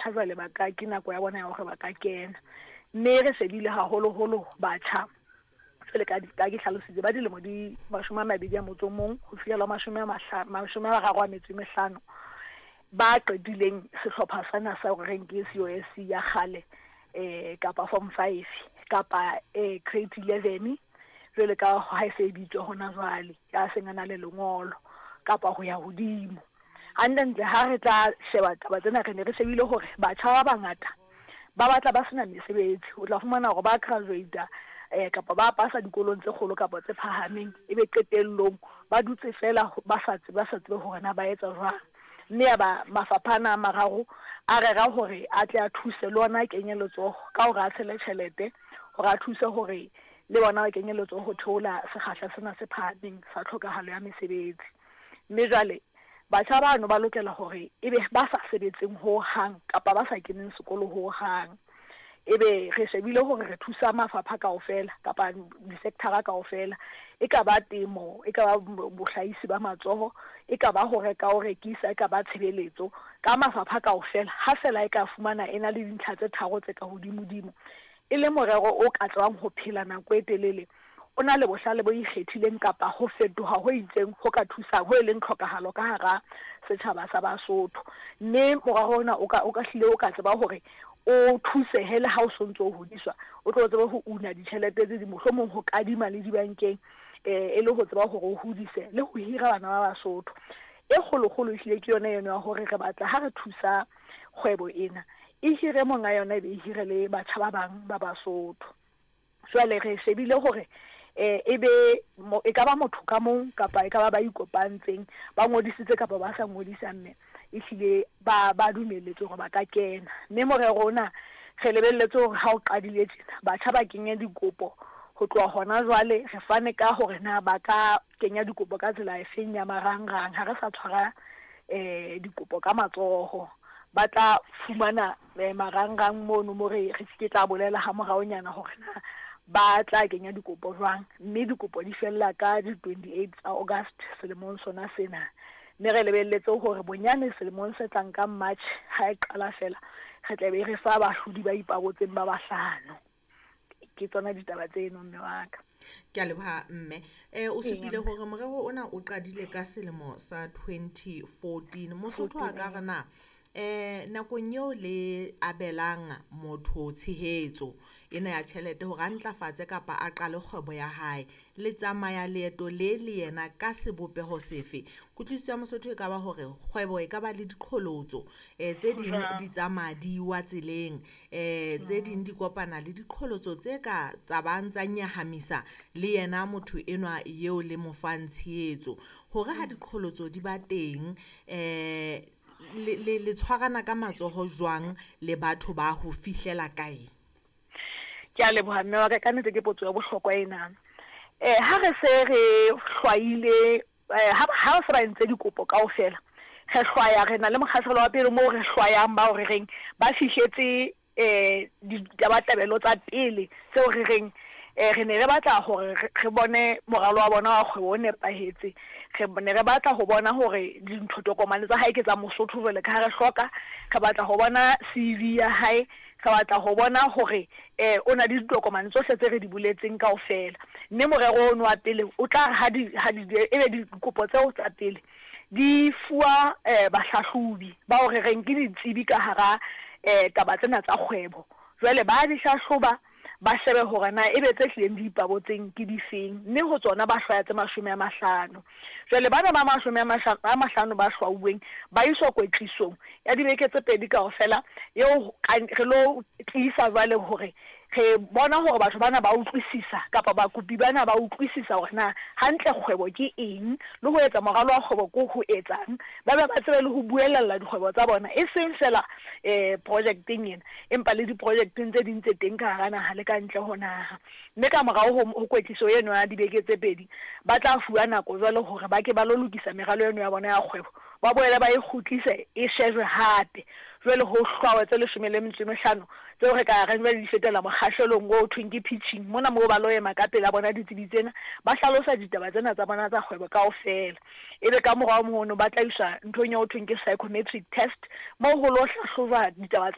Batjha jwale ba ka, ke nako ya bona ya hore ba ka kena. Mme re shebile haholoholo batjha, jwale ka ka ke hlalositse, ba dilemo di 21 ho fihlela 35, ba qetileng sehlopha sena sa hore reng ke COSC ya kgale, kapa form five, kapa grade 11, jwale ka ha e se e bitswa hona jwale, ya seng a na le lengolo, kapa ho ya hodimo. Hantlentle ha re tla sheba taba tsena, re ne re shebile hore batjha ba bangata ba batla ba sena mesebetsi. O tla fumana hore ba graduate kapa ba pasa dikolong tse kgolo kapa tse phahameng, ebe qetellong ba dutse fela ba sa tsebe, ba sa tsebe hore na ba etsa jwang. Mme ya ba mafapha ana a mararo a rera hore a tle a thuse le ona a kenye letsoho ka hore a tshele tjhelete hore a thuse hore le bona ba kenye letsoho ho theola sekgahla sena se phahameng sa tlhokahalo ya mesebetsi. Mme jwale batjha bano ba lokela hore ebe ba sa sebetseng ho hang kapa ba sa keneng sekolo ho hang. Ebe re shebile hore re thusa mafapha kaofela kapa di-sector-a kaofela. E ka ba temo, e ka ba bohlahisi ba matsoho, e ka ba ho reka o rekisa, e ka ba tshebeletso. Ka mafapha kaofela, ha feela e ka fumana e na le dintlha tse tharo tse ka hodimodimo, e le morero o ka tsebang ho phela nako e telele, o na le bohlale bo ikgethileng kapa ho fetoha ho itseng ho ka thusang, ho e leng tlhokahalo ka hara setjhaba sa Basotho. Mme morero ona o ka, o ka hlile o ka tseba hore o thusehe le ha o so ntso o hodiswa, o tlo tsebe ho una ditjhelete tse ding, mohlomong ho kadima le dibankeng, e le ho tseba hore o hodise le ho hira bana ba Basotho. E kgolokgolo ehlile ke yona eno ya hore re batla ha re thusa kgwebo ena, e hire monga yona e be e hire le batjha ba bang ba Basotho. Jwale re shebile hore e be e ka ba motho ka mong kapa e ka ba ba ikopantseng, ba ngodisitse kapa ba sa ngodisa, mme ehlile ba ba dumelletswe hore ba ka kena. Mme morero ona re lebelletse hore ha o qadile tjena, batjha ba kenye dikopo ho tloha hona jwale. Re fane ka hore na ba ka kenya dikopo ka tsela efeng ya marangrang, ha re sa tshwara dikopo ka matsoho. Ba tla fumana marangrang mono mo re ke tla bolela ha moraonyana hore na ba tla kenya dikopo jwang, mme dikopo di fella ka di 28 tsa August selemong sona sena. Mme re lebelletse hore bonyane selemong se tlang ka March ha e qala fela, re tla be re fa bahlodi ba ipabotseng ba bahlano. Ke tsona ditaba tseno, mme wa ka. Ke a leboha, mme. O supile hore morero ona o qadile ka selemo sa 2014. Mosotho a ka re na nakong eo le abelang motho tshehetso ena ya tjhelete hore a ntlafatse kapa a qale kgwebo ya hae, le tsamaya leeto le le yena ka sebopeho sefe? Kutlwisiso ya Mosotho e ka ba hore kgwebo e ka ba le diqholotso, tse ding di tsamaya di wa tseleng, tse ding di kopana le diqholotso tse ka tsabang tsa nyahamisa le yena motho enwa eo le mo fang tshehetso. Hore ha diqholotso di ba teng, le tshwarana ka matsoho jwang le batho ba ho fihlela kae? Ke a leboha, mme wa ka. Ka nnete ke potso ya bohlokwa ena. Ha re se re hlwaile, ha se ba entse dikopo kaofela, re hlwaya, re na le mokgahlelo wa pele moo re hlwayang bao re reng ba fihletse ditabatabelo tsa pele tseo re reng re ne re batla hore re bone moralo wa bona wa kgwebo o nepahetse. Re ne re batla ho bona hore dintho, tokomane tsa hae ke tsa Mosotho jwale ka ha re hloka. Re batla ho bona CV ya hae, re batla ho bona hore o na le ditokomane tsohle tse re di boletseng kaofela. Mme morero ono wa pele o tla re ha di, ha di, ebe dikopo tseo tsa pele di fuwa bahlahlobi bao re reng ke ditsebi ka hara taba tsena tsa kgwebo. Jwale ba di hlahloba, ba shebe hore na ebe tse hlileng di ipabotseng ke difeng, mme ho tsona ba hlwaya tse 50. Jwale bana ba 50 ba hlwauweng ba iswa kwetlisong ya dibeke tse pedi kaofela, eo re lo tiisa jwale hore re bona hore batho bana ba utlwisisa kapa bakopi bana ba utlwisisa hore na hantle kgwebo ke eng, le ho etsa moralo wa kgwebo ko ho etsang, ba be ba tsebe le ho buelella dikgwebo tsa bona, e seng fela projecteng ena, empa le diprojecteng tse ding tse teng ka hara naha le ka ntle ho naha. Mme ka morao ho kwetliso eno ya dibeke tse pedi, ba tla fuwa nako jwale hore ba ke ba lo lokisa meralo eno ya bona ya kgwebo, ba boele ba e kgutlise e shejwe hape. Jwale ho hlwawe tse 15 tseo re ka reng jwale di fetela mokgahlelong o thweng ke pitching. Mona moo ba lo ema ka pela bona ditsebi tsena, ba hlalosa ditaba tsena tsa bona tsa kgwebo kaofela. Ebe ka morao mono ba tla iswa nthong eo thweng ke psychometric test, moo ho lo hlahlojwa ditaba tsa.